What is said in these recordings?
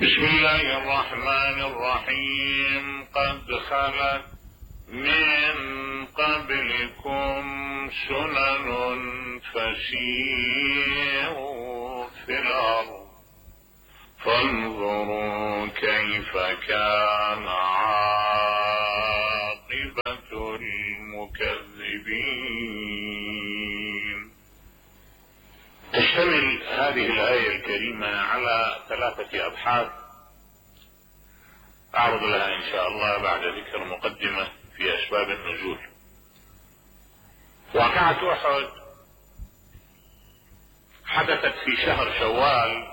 بسم الله الرحمن الرحيم. قد خلت من قبلكم سنن فسيروا في الأرض فانظروا كيف كان عاقبة المكذبين. تشتمل هذه الآية الكريمة على 3 أبحاث أعرض لها إن شاء الله بعد ذكر مقدمة في أسباب النزول. واقعة أحد حدثت في شهر شوال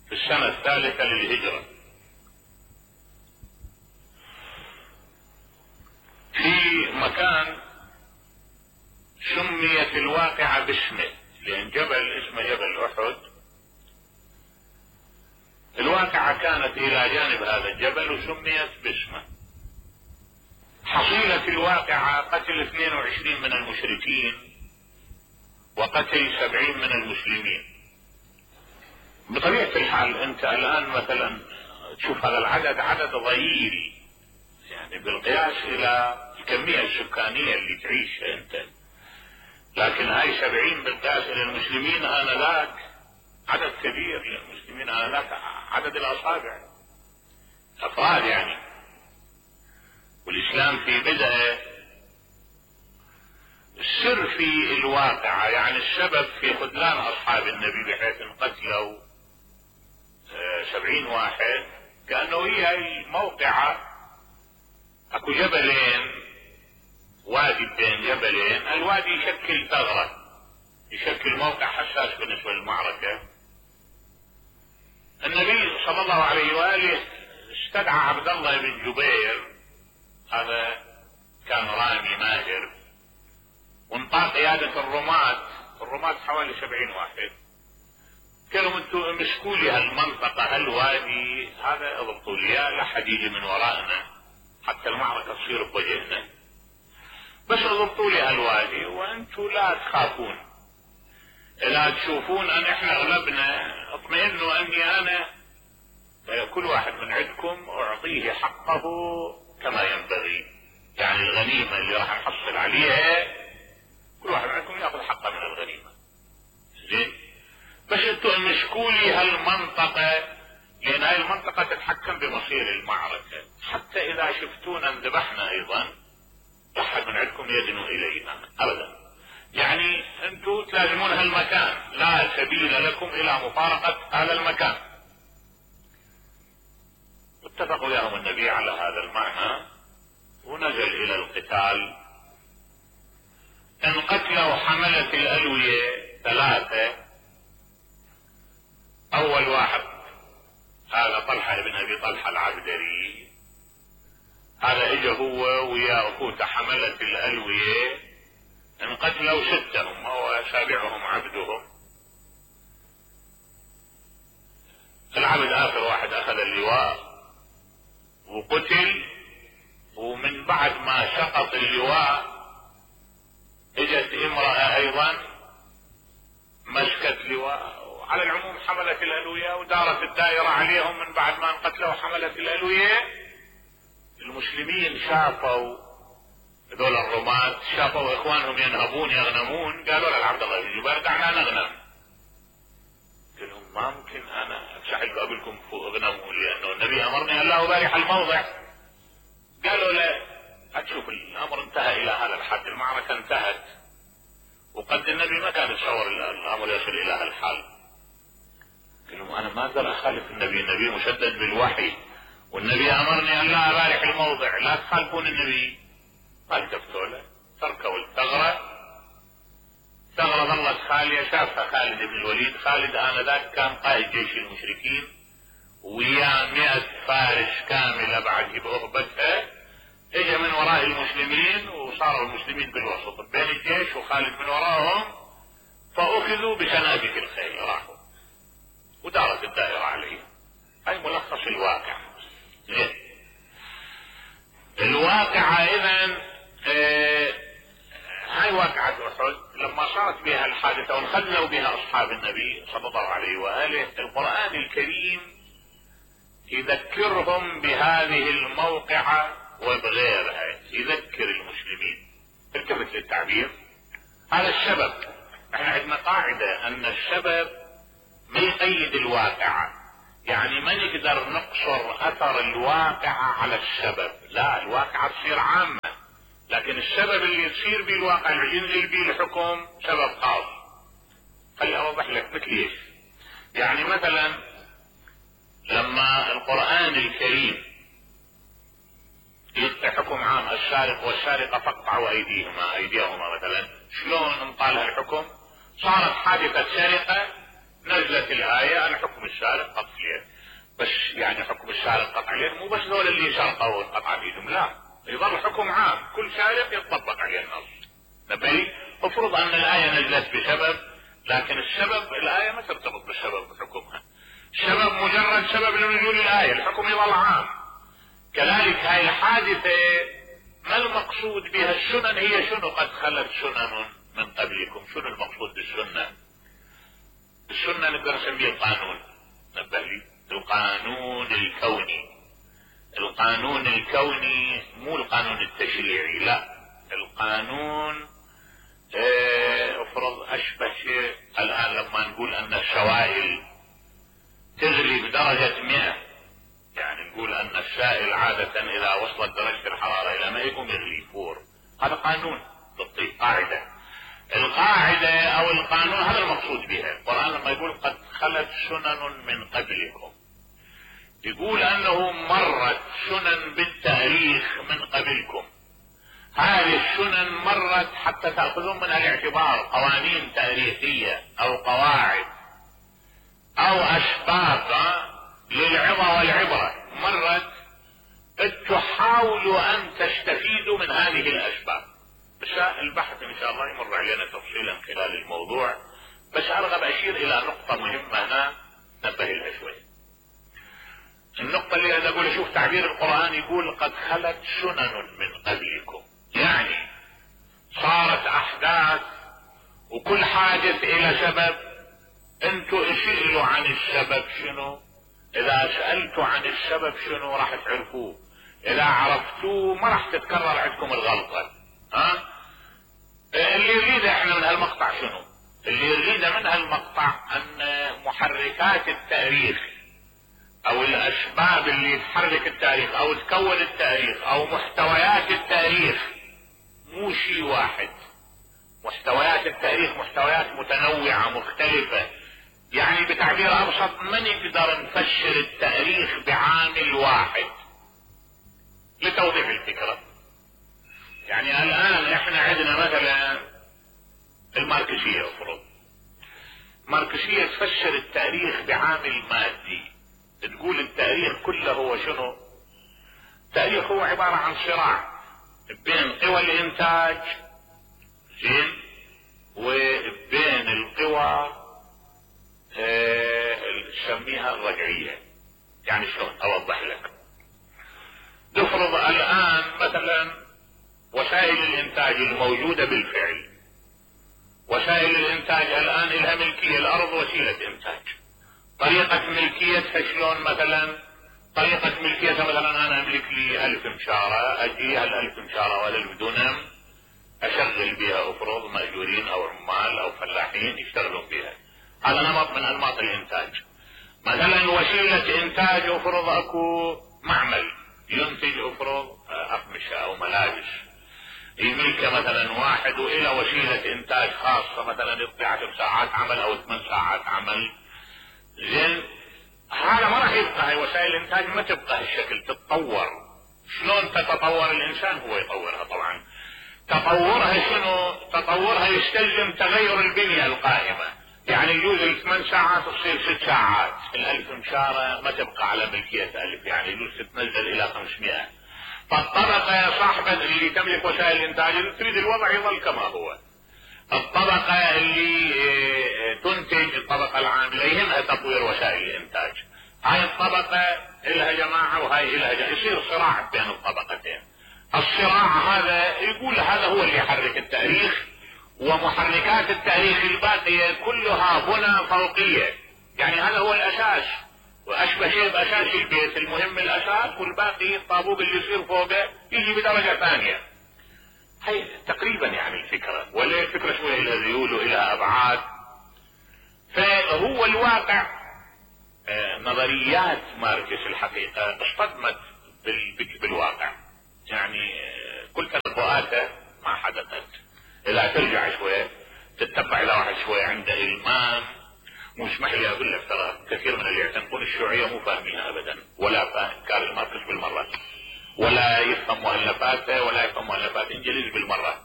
في السنة 3 للهجرة، في مكان سميت الواقعة باسمه، لأن جبل اسمه جبل أحد. الواقعة كانت إلى جانب هذا الجبل وسميت باسمه. حصيلة الواقعة قتل 22 من المشركين وقتل 70 من المسلمين. بطبيعة الحال انت الآن مثلا تشوف هذا العدد عدد ضئيل، يعني بالقياس الى الكمية السكانية اللي تعيشها انت، لكن هاي 70 بالقياس الى المسلمين آنذاك عدد كبير للمسلمين آنذاك، عدد الأصابع أفراد يعني. والإسلام في بدءه السر في الواقعة، يعني السبب في خذلان أصحاب النبي بحيث انقتلوا 70 واحد، كأنه هي الموقعة اكو جبلين، وادي بين جبلين، الوادي يشكل ثغرة، يشكل موقع حساس بالنسبة للمعركة. النبي صلى الله عليه وآله استدعى عبد الله بن جبير، هذا كان رامي ماهر، وانطاق قيادة الرماة حوالي 70 واحد. قالوا انتم امسكوا لي هالمنطقة هالوادي هذا، اضبطوا لي لا حد يجي من ورائنا حتى المعركة تصير بوجهنا، بس اضبطوا لي هالوادي وانتم لا تخافون، لا تشوفون ان احنا غلبنا اطمئنوا اني انا كل واحد من عندكم اعطيه حقه كما ينبغي، يعني الغنيمة اللي راح نحصل عليها كل واحد منكم ياخذ حقه من الغنيمة. زين، بس انتوا امسكوا لي هالمنطقة، لان هاي المنطقة تتحكم بمصير المعركة، حتى اذا شفتونا انذبحنا ايضا لا احد من عندكم يدنو الينا ابدا، يعني انتوا تلازمون هالمكان، لا سبيل لكم الى مفارقة هذا المكان. اتفق وياهم النبي على هذا المعنى ونزل الى القتال. انقتلوا حملة الالوية 3. اول واحد هذا طلحة بن ابي طلحة العبدري، هذا اجى هو ويا اخوته حملة الالوية، انقتلوا 6 هم وسابعهم عبدهم. العبد اخر واحد اخذ اللواء وقتل، ومن بعد ما سقط اللواء اجت امرأة ايضا مسكت لواء. على العموم حملت الالوية ودارت الدائرة عليهم. من بعد ما انقتلوا حملت الالوية، المسلمين شافوا هذول الرماة، شافوا اخوانهم ينهبون يغنمون، قالوا لعبد الله بن جبير دعنا نغنم. قال لهم ما ممكن انا اتشحل قبلكم فوق اغنموا، لانه النبي امرني ان لا ابارح الموضع. قالوا لا، هتشوف الامر انتهى الى هذا الحد، المعركة انتهت، وقد النبي ما كان يتصور الامر يصل الى هذا الحال. قال لهم انا ما اقدر اخالف النبي مشدد بالوحي، والنبي امرني ان لا ابارح الموضع، لا تخالفون النبي. ما التفتوا له، تركوا الثغرة. ثغرة ظلت خالية، شافها خالد بن الوليد. خالد آنذاك كان قائد جيش المشركين ويا 100 فارس كاملة بعد بأهبتها، اجى من وراء المسلمين وصاروا المسلمين بالوسط بين الجيش وخالد من وراءهم، فأخذوا بسنابك الخيل راحوا ودارت الدائرة عليهم. هاي ملخص الواقع. الواقعة اذن هاي واقعة احد لما صارت بها الحادثة وانخذلوا بها اصحاب النبي صلى الله عليه وآله، القرآن الكريم يذكرهم بهذه الموقعة وبغيرها، يذكر المسلمين. التفت للتعبير، هذا السبب. احنا عندنا قاعدة ان السبب ما يقيد الواقعة، يعني ما نقدر نقصر اثر الواقعة على السبب، لا، الواقعة تصير عامة، لكن السبب اللي يصير به الواقع اللي ينزل به الحكم سبب خاص. خلي اوضح لك مثل ايش. يعني مثلا لما القرآن الكريم يعطي حكم عام السارق والسارقة فاقطعوا ايديهما مثلا، شلون انطالها الحكم؟ صارت حادثة سرقة، نزلت الآية أن حكم السارق قطع اليد. بس يعني حكم السارق قطع اليد مو بس دول اللي سرقوا قطع ايدهم، لا، يظل حكم عام، كل سارق يطبق عليه النص. نبي افرض ان الآية نزلت بسبب، لكن السبب الآية ما ترتبط بالسبب بحكمها، السبب مجرد سبب لنزول الآية، الحكم يظل عام. كذلك هاي الحادثة ما المقصود بها؟ السنن هي شنو؟ قد خلت سنن من قبلكم. شنو المقصود بالسنة؟ السنة نقدر نسميه القانون. نبه لي، القانون الكوني. القانون الكوني مو القانون التشريعي، لا، القانون افرض اشبه شيء الان لما نقول ان السوائل تغلي بدرجة 100، يعني نقول ان السائل عادة اذا وصلت درجة الحرارة الى 100 يقوم يغلي يفور. هذا قانون بالطبع، قاعدة. القاعدة او القانون هذا المقصود بها. القرآن لما يقول قد خلت سنن من قبلكم، يقول انه مرت سنن بالتاريخ من قبلكم. هذه السنن مرت حتى تأخذون منها الاعتبار قوانين تاريخية او قواعد او اسباب للعظة والعبرة. مرت تحاولوا ان تستفيدوا من هذه الاسباب. بس البحث ان شاء الله يمر علينا تفصيلا خلال الموضوع، بس ارغب اشير الى نقطة مهمة هنا نبه لها شوي. النقطة اللي انا اقول، شوف تعبير القرآن يقول قد خلت سنن من قبلكم، يعني صارت احداث وكل حادث الى سبب. انتوا اسئلوا عن السبب شنو، اذا سألتوا عن السبب شنو راح تعرفوه، اذا عرفتوه ما راح تتكرر عندكم الغلطة. اللي يريده احنا من هالمقطع شنو؟ اللي يريده من هالمقطع ان محركات التاريخ او الاسباب اللي تحرك التاريخ او تكون التاريخ او محتويات التاريخ مو شيء واحد. محتويات التاريخ محتويات متنوعة مختلفة، يعني بتعبير ابسط ما نقدر نفسر التاريخ بعامل واحد. لتوضيح الفكرة، يعني الان احنا عندنا مثلا الماركسية، افرض ماركسية تفسر التاريخ بعامل مادي، تقول التاريخ كله هو شنو؟ التاريخ هو عبارة عن صراع بين قوى الانتاج زين وبين القوى نسميها الرجعية. يعني شلون اوضح لك؟ نفرض الان مثلا وسائل الانتاج الموجودة بالفعل، وسائل الانتاج الان لها ملكية، الارض وسيلة انتاج، طريقة ملكيتها شلون؟ مثلا طريقة ملكيتها مثلا انا املك لي 1000 مشارة، اجي هال1000 مشارة وال1000 دونم اشغل بها افرض مأجورين او عمال او فلاحين يشتغلون بها. هذا نمط من انماط الانتاج. مثلا وسيلة انتاج افرض اكو معمل ينتج افرض اقمشة او ملابس، يملكه مثلا واحد والى وسيلة انتاج خاصة مثلا يقضي 10 ساعات عمل او 8 ساعات عمل. زين هذا ما راح يبقى، هاي وسائل الانتاج ما تبقى هالشكل، تتطور. شلون تتطور الانسان؟ هو يطورها طبعا. تطورها شنو؟ تطورها يستلزم تغير البنية القائمة، يعني يجوز 8 ساعات تصير 6 ساعات، ال1000 مشارة ما تبقى على ملكية 1000، يعني يجوز تتنزل الى 500. فالطبقة صاحبة اللي تملك وسائل الانتاج تريد الوضع يظل كما هو. الطبقة اللي تنتج، الطبقة العاملة يهمها تطوير وسائل الانتاج. هاي الطبقة إلها جماعة وهاي إلها جماعة، يصير صراع بين الطبقتين. الصراع هذا يقول هذا هو اللي يحرك التاريخ، ومحركات التاريخ الباقية كلها بنى فوقية، يعني هذا هو الأساس. واشبه شيء باساس البيت، المهم الاساس والباقي الطابوق اللي يصير فوقه يجي بدرجة ثانية. هي تقريبا يعني الفكرة، ولا الفكرة شوية الى ذيول والى ابعاد. فهو الواقع نظريات ماركس الحقيقة اصطدمت بالواقع، يعني كل تنبؤاته ما حدثت. اذا ترجع شوية تتبع الى واحد شوية عنده المام، مش محلي اقول لك ترى كثير من اللي يعتنقون الشيوعية مو فاهمينها ابدا، ولا فاهم كارل ماركس بالمرة، ولا يفهم مؤلفاته ولا يفهم مؤلفات انجليزي بالمرة،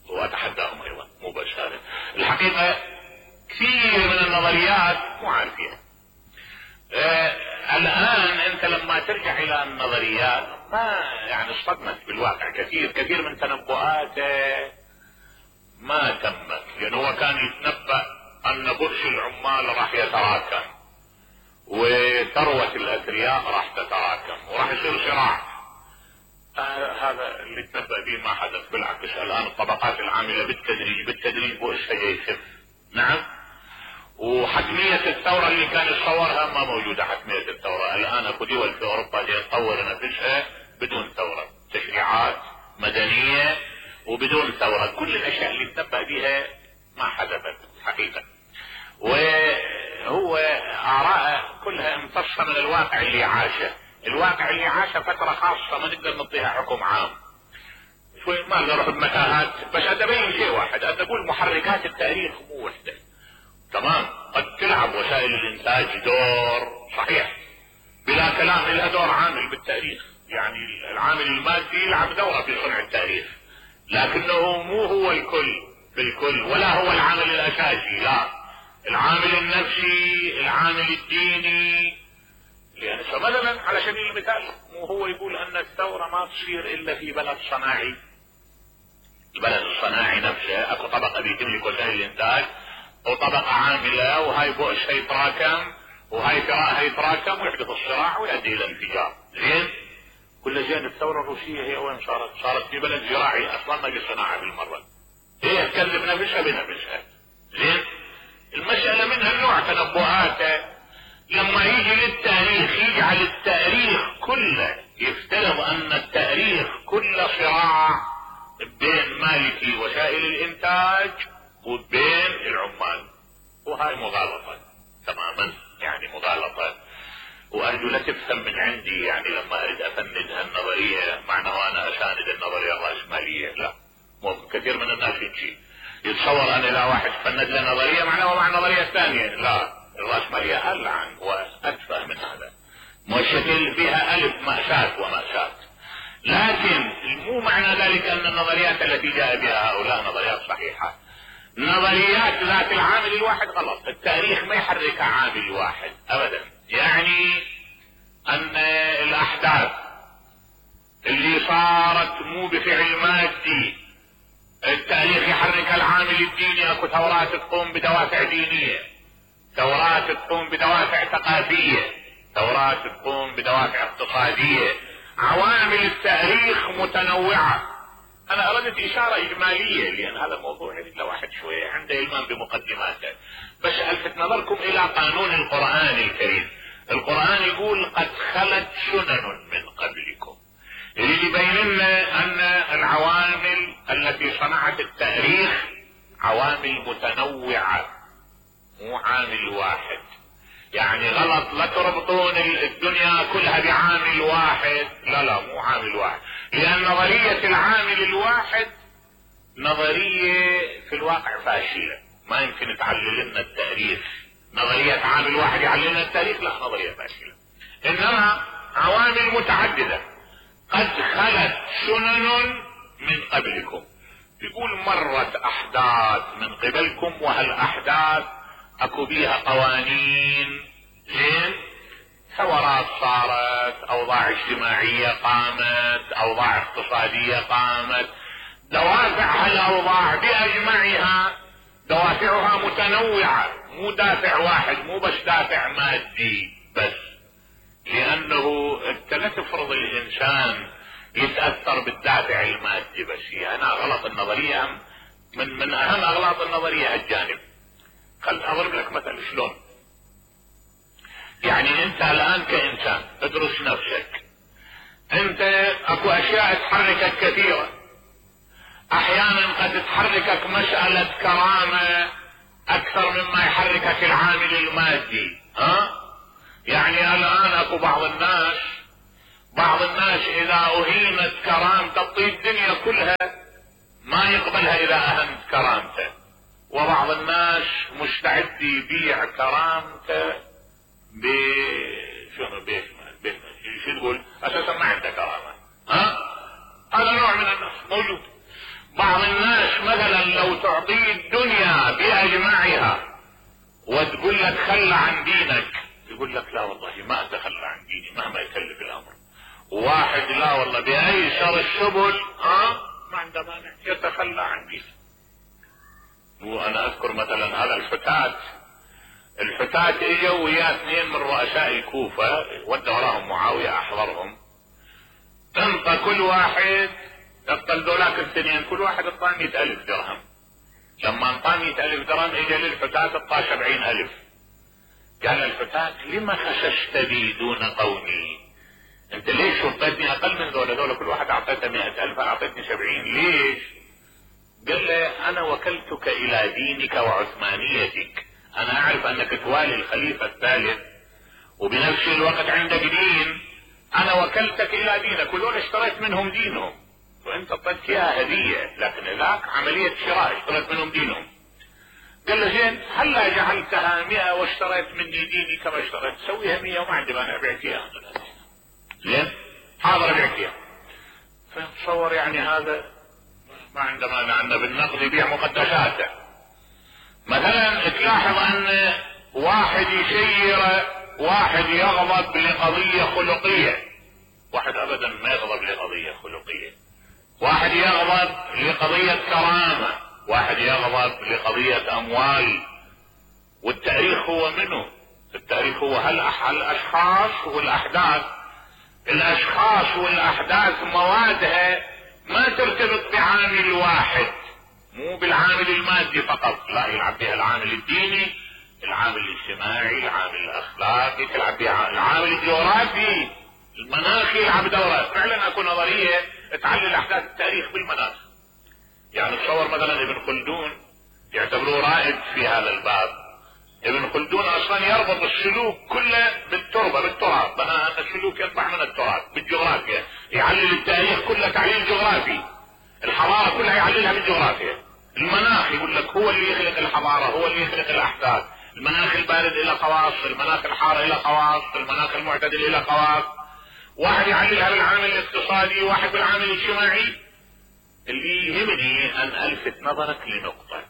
واتحداهم ايضا مو بس هذا. الحقيقة كثير من النظريات مو عارفينها. الان انت لما ترجع الى النظريات ما يعني اصطدمت بالواقع كثير من تنبؤاته ما تمت، لانه هو كان يتنبأ ان برج العمال راح يتراكم وثروة الاثرياء راح تتراكم وراح يصير صراع. هذا اللي تنبأ به ما حدث، بالعكس الان الطبقات العاملة بالتدريج بؤسها يخف. نعم. وحتمية الثورة اللي كان يتصورها ما موجودة. حتمية الثورة الان اكو دول في اوروبا تطور نفسها بدون ثورة، تشريعات مدنية وبدون ثورة. كل الاشياء اللي تنبأ بها ما حدثت حقيقة، وهو آراءه كلها امتصة من الواقع اللي عاشه. الواقع اللي عاشه فترة خاصة ما نقدر نعطيها حكم عام، شوي ما نروح بمتاهات، بس ابين شيء واحد، اقول محركات التاريخ مو وحدة. تمام، قد تلعب وسائل الانتاج دور صحيح بلا كلام، لها دور عامل بالتاريخ، يعني العامل المادي يلعب دورة في صنع التاريخ، لكنه مو هو الكل بالكل، ولا هو العامل الاساسي، لا، العامل النفسي، العامل الديني. يعني مثلا على سبيل المثال مو هو يقول ان الثورة ما تصير الا في بلد صناعي، البلد الصناعي نفسه اكو طبقة بيتملك وسائل الانتاج وطبقة عاملة، وهاي بؤس هيتراكم وهاي ثراء هيتراكم ويحدث الصراع ويؤدي الى انفجار. زين، كل زين الثورة الروسية هي وين صارت في بلد زراعي اصلا ما في صناعة بالمرة، هي تكذب نفسها بنفسها. زين، المسألة منها النوع تنبؤاته لما يجي للتاريخ يجعل التاريخ كله يفترض ان التاريخ كله صراع بين مالكي وسائل الانتاج وبين العمال، وهاي مغالطة تماما، يعني مغالطة. وارجو لا تفهم من عندي يعني لما اريد افند هالنظرية معناه انا اساند النظرية الرأسمالية، لا، ممكن كثير من الناس يتصور ان اذا واحد فند له نظرية معناه مع النظرية الثانية، لا، الرأسمالية ألعن وأتفه من هذا، مشكل فيها ألف مأساة ومأساة. لكن مو معنى ذلك أن النظريات التي جاء بها هؤلاء نظريات صحيحة. نظريات ذات العامل الواحد غلط، التاريخ ما يحرك عامل واحد أبدا. يعني أن الأحداث اللي صارت مو بفعل مادي، التاريخ يحرك العامل الديني، اكو ثورات تقوم بدوافع دينية، ثورات تقوم بدوافع ثقافية، ثورات تقوم بدوافع اقتصادية، عوامل التاريخ متنوعة. انا اردت اشارة اجمالية لان هذا موضوع يريد واحد شوية عنده المام بمقدماته، بس الفت نظركم الى قانون القرآن الكريم. القرآن يقول قد خلت سنن من قبلكم، يريد يبين لنا ان العوامل التي صنعت التاريخ عوامل متنوعة مو عامل واحد. يعني غلط لا تربطون الدنيا كلها بعامل واحد، لا مو عامل واحد، لان نظرية العامل الواحد نظرية في الواقع فاشلة، ما يمكن تعلل لنا التاريخ. نظرية عامل واحد يعلل لنا التاريخ، لا، نظرية فاشلة. انما عوامل متعددة، قد خلت سنن من قبلكم، يقول مرت احداث من قبلكم، وهالاحداث اكو بيها قوانين. زين، ثورات صارت، اوضاع اجتماعية قامت، اوضاع اقتصادية قامت، دوافع هالاوضاع باجمعها دوافعها متنوعة، مو دافع واحد، مو بس دافع مادي بس، لانه انت لا تفرض الانسان يتأثر بالدافع المادي بس. هي انا غلط النظرية، من اهم اغلاط النظرية هالجانب. خل اضرب لك مثل شلون. يعني انت الان كانسان ادرس نفسك، انت اكو اشياء تحركك كثيرة، احيانا قد تحركك مسألة كرامة اكثر مما يحركك العامل المادي. يعني الان اكو بعض الناس اذا اهينت كرامته تطيب الدنيا كلها ما يقبلها اذا اهنت كرامته، وبعض الناس مستعد يبيع كرامته شو تقول اساسا ما عنده كرامة. هذا نوع من الناس موجود. بعض الناس مثلا لو تعطيه الدنيا باجمعها وتقول لك خلى عن دينك، يقول لك لا والله ما اتخلى عن ديني مهما يكلف الامر. واحد لا والله بايسر السبل ما عنده مانع يتخلى عن دينه. وانا اذكر مثلا هذا الحتات اجوا ويا اثنين من رؤساء الكوفة ودوا وراهم معاوية احضرهم، انطى كل واحد اقتل ذولاك الاثنين كل واحد اعطاه 100,000 درهم. لما اعطاه 100,000 درهم اجى للحتات اعطاه 70,000. قال الحتات لما خسست بي دون قومي؟ انت ليش وطيتني اقل من ذولا كل واحد اعطيته 100,000 اعطيتني 70، ليش؟ قال له انا وكلتك الى دينك وعثمانيتك، انا اعرف انك توالي الخليفة الثالث وبنفس الوقت عندك دين، انا وكلتك الى دينك ودول اشتريت منهم دينهم وانت اعطيت اياها هدية، لكن ذاك عملية شراء اشتريت منهم دينهم. قال له زين هلا جعلتها 100 واشتريت مني ديني كما اشتريت، سويها 100 وما عندي مانع ابيعك اياها. زين حاضر ابيعك اياها. فتصور يعني هذا ما عنده مانع انه بالنقد يبيع مقدساته. مثلا تلاحظ ان واحد يسير، واحد يغضب لقضية خلقية، واحد ابدا ما يغضب لقضية خلقية، واحد يغضب لقضية كرامة، واحد يغضب لقضية اموال. والتاريخ هو منه، التاريخ هو الاشخاص والاحداث. الاشخاص والاحداث موادها ما ترتبط بعامل واحد، مو بالعامل المادي فقط، لا يلعب بها العامل الديني، العامل الاجتماعي، العامل الاخلاقي، تلعب بها العامل الجغرافي، المناخي يلعب دورة. فعلا اكو نظرية تعلل احداث التاريخ بالمناخ. يعني تصور مثلا ابن خلدون يعتبروه رائد في هذا الباب. ابن خلدون اصلا يربط السلوك كله بالتراب، بناء ان السلوك ينبع من التراب بالجغرافيا، يعلل التاريخ كله تعليل جغرافي، الحضارة كلها يعللها بالجغرافيا. المناخ يقول لك هو اللي يخلق الحضارة، هو اللي يخلق الاحداث. المناخ البارد له خواص، المناخ الحار له خواص، المناخ المعتدل له خواص. واحد يعللها بالعامل الاقتصادي، واحد بالعامل الاجتماعي. اللي يهمني ان الفت نظرك لنقطة،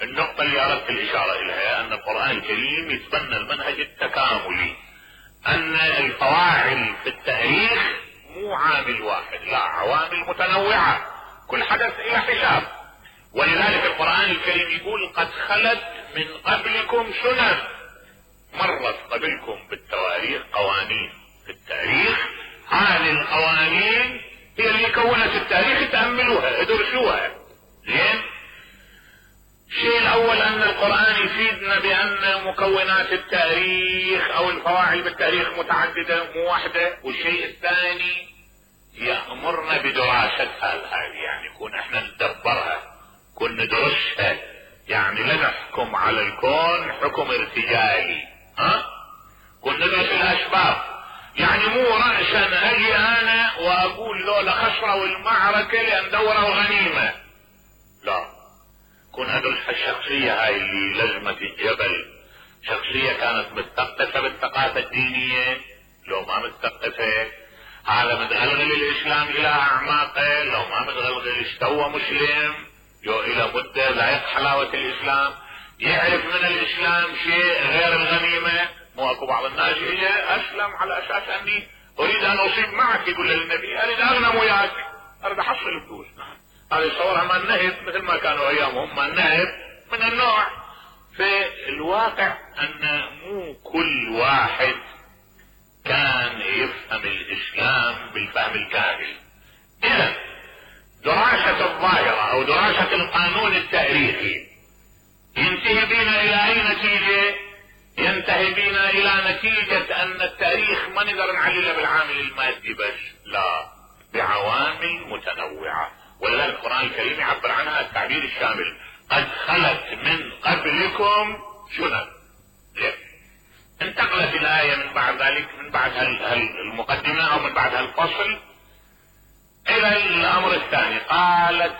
النقطة اللي اردت الاشارة اليها ان القرآن الكريم يتبنى المنهج التكاملي، ان الفواعل في التاريخ مو عامل واحد، لا عوامل متنوعة، كل حدث الى حساب. ولذلك القرآن الكريم يقول قد خلت من قبلكم سنن، مرت قبلكم بالتواريخ قوانين في التاريخ، هذه القوانين هي اللي كونت التاريخ، تأملوها ادرسوها. زين الشيء الاول ان القرآن يفيدنا بان مكونات التاريخ او الفواعل بالتاريخ متعددة مو واحدة. والشيء الثاني يأمرنا بدراستها هذه، يعني يكون احنا ندبرها، كن ندرسها، يعني لا نحكم على الكون حكم ارتجالي، كن ندرس الاسباب. يعني مو رأسا اجي انا واقول ذولا خسروا المعركة لان دوروا غنيمة، لا، كن ادرس الشخصية هاي اللي لزمت الجبل، شخصية كانت متثقفة بالثقافة الدينية لو ما متثقفة، هذا متغلغل الاسلام الى اعماقه لو ما متغلغل استوى مسلم يو الى مدة ذايق حلاوة الاسلام، يعرف من الاسلام شيء غير الغنيمة. مو اكو بعض الناس يجي اسلم على اساس اني اريد ان اصيب معك، يقول للنبي اريد اغنم وياك، اريد احصل فلوس. هذا يصورها ما النهب مثل ما كانوا ايامهم، ما النهب من النوع. في الواقع ان مو كل واحد كان يفهم الاسلام بالفهم الكامل. اذا دراسة الظاهرة او دراسة القانون التاريخي ينتهي بنا الى اي نتيجة؟ ينتهي بنا الى نتيجة ان التاريخ ما نقدر نعلله بالعامل المادي بس، لا، بعوامل متنوعة. ولذلك القرآن الكريم يعبر عنها التعبير الشامل: قد خلت من قبلكم سنن. انتقلت الآية من بعد ذلك، من بعد المقدمة او من بعد هالفصل، الى الامر الثاني. قالت